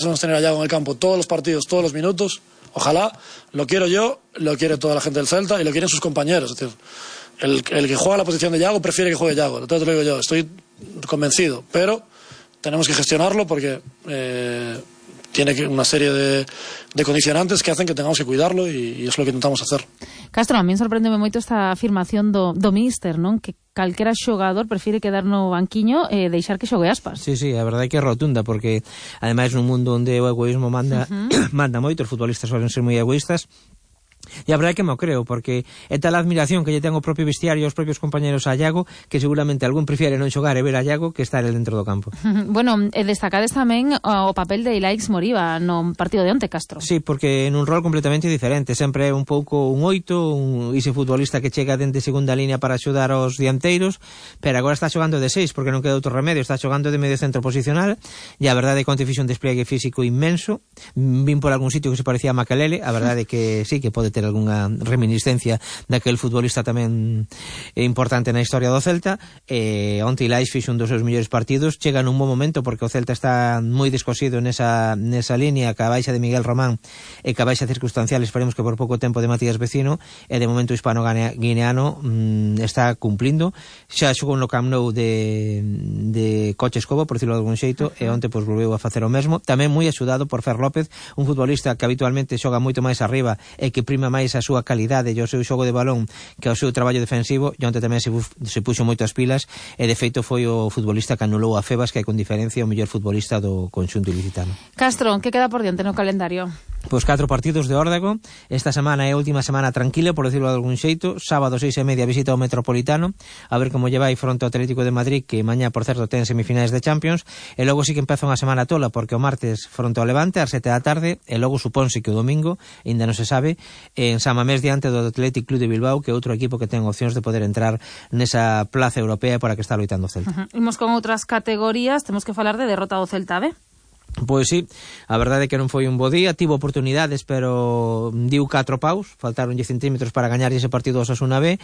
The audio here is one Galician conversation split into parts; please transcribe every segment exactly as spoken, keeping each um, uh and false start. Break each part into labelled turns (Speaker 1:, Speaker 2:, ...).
Speaker 1: Vamos a tener a Yago en el campo todos los partidos, todos los minutos. Ojalá, lo quiero yo, lo quiere toda la gente del Celta y lo quieren sus compañeros. Es decir, el, el que juega la posición de Yago prefiere que juegue Yago. Entonces te lo digo yo, estoy convencido. Pero tenemos que gestionarlo porque eh, tiene que, una serie de, de condicionantes que hacen que tengamos que cuidarlo y, y es lo que intentamos hacer.
Speaker 2: Castro, a mí sorprendeme moito esta afirmación do, do míster, non? Que calquera xogador prefire quedar no banquiño e eh, deixar que xogue Aspas.
Speaker 3: Sí, sí, a verdade é que é rotunda, porque ademais nun mundo onde o egoísmo manda uh-huh. manda moito, os futbolistas suelen ser moi egoístas. E a verdade é que me creo, porque é tal a admiración que lle ten o propio vestiario e os propios compañeros a Yago que seguramente algún prefiere non xogar e ver a Yago que estar el dentro do campo.
Speaker 2: Bueno, e destacades tamén o papel de Ilaix Moriba no partido de onte, Castro.
Speaker 3: Sí, porque nun rol completamente diferente, sempre é un pouco un oito, un ese futbolista que chega dende segunda línea para axudar aos dianteiros, pero agora está xogando de seis porque non queda outro remedio, está xogando de medio centro posicional e a verdade é que onte fixo un despliegue físico inmenso. Vin por algún sitio que se parecía a Makelele, a verdade é que sí, que pode ter algunha reminiscencia daquel futbolista tamén importante na historia do Celta. E onte Ilaix fixo un dos seus mellores partidos, chega nun bon momento porque o Celta está moi descosido nesa, nesa línea que a baixa de Miguel Román e que a baixa circunstancial esperemos que por pouco tempo de Matías Vecino e de momento hispano-guineano mmm, está cumplindo. Xa xogou no Camp Nou de, de Coche Escobo, por decirlo de algún xeito, e onte pois volveu a facer o mesmo, tamén moi axudado por Fer López, un futbolista que habitualmente xoga moito máis arriba e que prima máis a súa calidade e o seu xogo de balón que o seu traballo defensivo, e onte tamén se, se puxo moito as pilas e de feito foi o futbolista que anulou a Febas, que é con diferencia o mellor futbolista do conxunto ilicitano.
Speaker 2: Castro, que queda por diante no calendario?
Speaker 3: Pois catro partidos de Órdago. Esta semana é a última semana tranquila, por decirlo de algún xeito. Sábado seis e media visita ao Metropolitano, a ver como lle vai fronte ao Atlético de Madrid, que mañá, por certo, ten semifinais de Champions, e logo sí que empeza unha semana tola, porque o martes fronte ao Levante ás sete da tarde, e logo supónse que o domingo, ainda non se sabe, en San Mamés diante do Athletic Club de Bilbao, que é outro equipo que ten opcións de poder entrar nesa plaza europea para que está loitando o Celta.
Speaker 2: Uh-huh. Imos con outras categorías, temos que falar de derrota do Celta B.
Speaker 3: Pois sí, a verdade é que non foi un bo día, tivo oportunidades, pero diu catro paus, faltaronlle centímetros para gañar ese partido ao Osasuna B.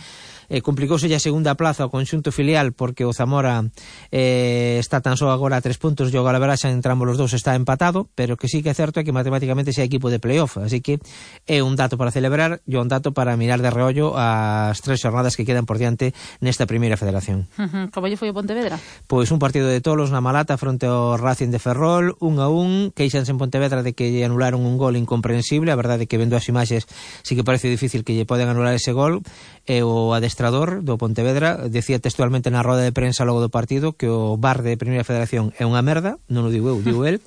Speaker 3: Eh, complicouse a segunda plaza ao conxunto filial porque o Zamora eh, está tan só agora a tres puntos e o Galaveraxa entre ambos os dous está empatado, pero que sí que é certo é que matemáticamente xa é equipo de playoff, así que é un dato para celebrar e un dato para mirar de reollo as tres xornadas que quedan por diante nesta primeira federación.
Speaker 2: Uh-huh. Como lle foi o Pontevedra?
Speaker 3: Pois un partido de tolos na Malata fronte ao Racing de Ferrol, un a un, queixanse en Pontevedra de que lle anularon un gol incomprensible, a verdade é que vendo as imaxes sí que parece difícil que lle poden anular ese gol, e o adestrador do Pontevedra decía textualmente na roda de prensa logo do partido que o V A R de Primeira Federación é unha merda, non o digo eu, digo el.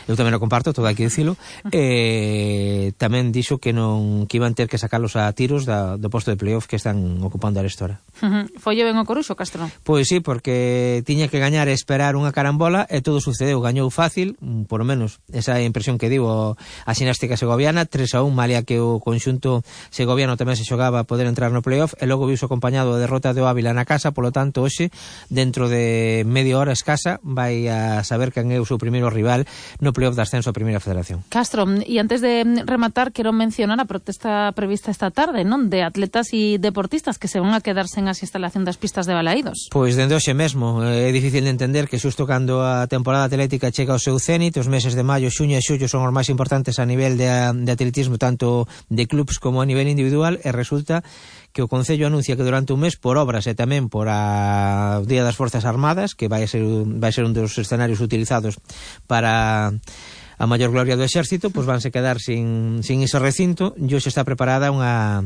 Speaker 3: Eu tamén o comparto, todo hai que dicilo. E tamén dixo que non que iban ter que sacarlos a tiros da, do posto de playoff que están ocupando a restora.
Speaker 2: Uh-huh. Foi ben o Coruxo, Castro?
Speaker 3: Pois sí, porque tiña que gañar e esperar unha carambola e todo sucedeu, gañou fácil, por lo menos esa impresión que digo a xinástica segoviana, tres a un, malia que o conxunto segoviano tamén se xogaba a poder entrar no playoff, e logo viso acompañado a derrota de Ávila na casa, polo tanto, hoxe, dentro de media hora escasa, vai a saber quen é o seu primeiro rival no playoff de ascenso a Primeira Federación.
Speaker 2: Castro, e antes de rematar, quero mencionar a protesta prevista esta tarde, non? De atletas e deportistas que se van a quedar sen as instalación das pistas de Balaídos.
Speaker 3: Pois dende hoxe mesmo, é difícil de entender que xusto cando a temporada atlética chega ao seu cénit, os meses de maio, xuño e xullo son os máis importantes a nivel de, de atletismo, tanto de clubs como a nivel individual, e resulta que o Concello anuncia que durante un mes, por obras e tamén por a Día das Forzas Armadas, que vai ser, vai ser un dos escenarios utilizados para a maior gloria do exército, pois vanse quedar sin, sin ese recinto, e hoxe está preparada unha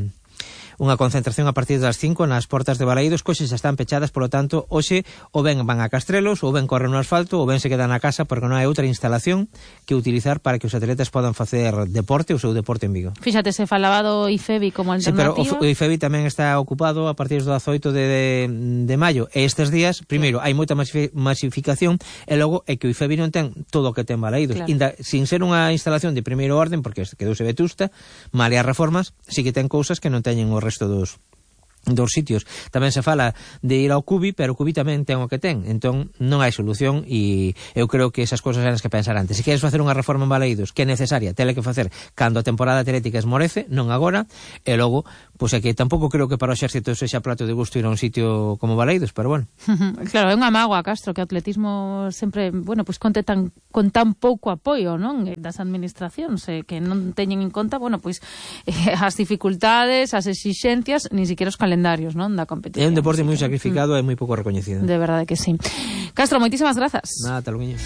Speaker 3: unha concentración a partir das cinco nas portas de Balaídos, coxes están pechadas, polo tanto, hoxe ou ben van a Castrelos, ou ben corren no asfalto, ou ben se quedan na casa, porque non hai outra instalación que utilizar para que os atletas podan facer deporte, o seu deporte en Vigo.
Speaker 2: Fíxate, se falaba do I F E B I como alternativa.
Speaker 3: Sí, pero o I F E B I tamén está ocupado a partir do dezaoito de, de, de maio, e estes días, primeiro, hai moita masificación, e logo é que o I F E B I non ten todo o que ten Balaídos. Claro. Inda, sin ser unha instalación de primeiro orden, porque quedouse vetusta, malia reformas, sí que ten cousas que non teñen o resto dos dos sitios. Tamén se fala de ir ao Cubi, pero o Cubi tamén ten o que ten, entón non hai solución, e eu creo que esas cousas eran as que pensar antes. Se queres facer unha reforma en Balaídos que é necesaria, tele que facer cando a temporada atlética esmorece, non agora, e logo pois é que tampouco creo que para o exército sexa plato de gusto ir a un sitio como Baleidos, pero bueno.
Speaker 2: Claro, é unha mágoa, Castro, que o atletismo sempre, bueno, pois conte tan, con tan pouco apoio, non, das administracións, eh, que non teñen en conta, bueno, pois eh, as dificultades, as exixencias, nin siquiera os calendarios, non, da competición.
Speaker 3: É un deporte
Speaker 2: Así
Speaker 3: moi
Speaker 2: que,
Speaker 3: sacrificado mm. e moi pouco recoñecido.
Speaker 2: De verdade que sí. Castro, moitísimas grazas.
Speaker 3: Nada, tal luguiño.